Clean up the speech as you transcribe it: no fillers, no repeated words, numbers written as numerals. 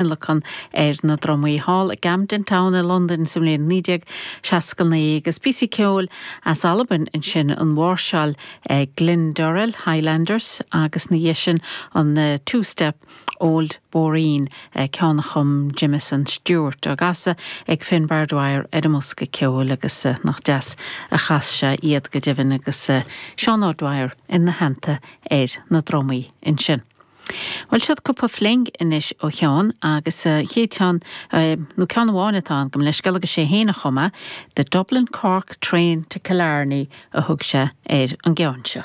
Thionlacan ar na drumaí thall i gCamden Town i Londain sa mbliain 1969 agus píosaí ceoil as Albain ansin, an mháirseáil Glen Durrell Highlanders agus ina dhiaidh sin an Two Step Old Boreen, ceann a chum Jamieson Stewart, á gcasadh ag Finbar Dwyer ar an mbosca ceoil agus nach deas a chas sé iad go deimhin agus Seán O'Dwyer ina theannta ar na drumaí ansin. Bhuel, siod cúpla fling anois ó Sheán agus an chéad cheann, nó ceann amháin atá ann, gabh mo leithscéal agus sé fhéin a chum é, The Dublin Cork Train to Killarney a thug sé ar an gceann seo.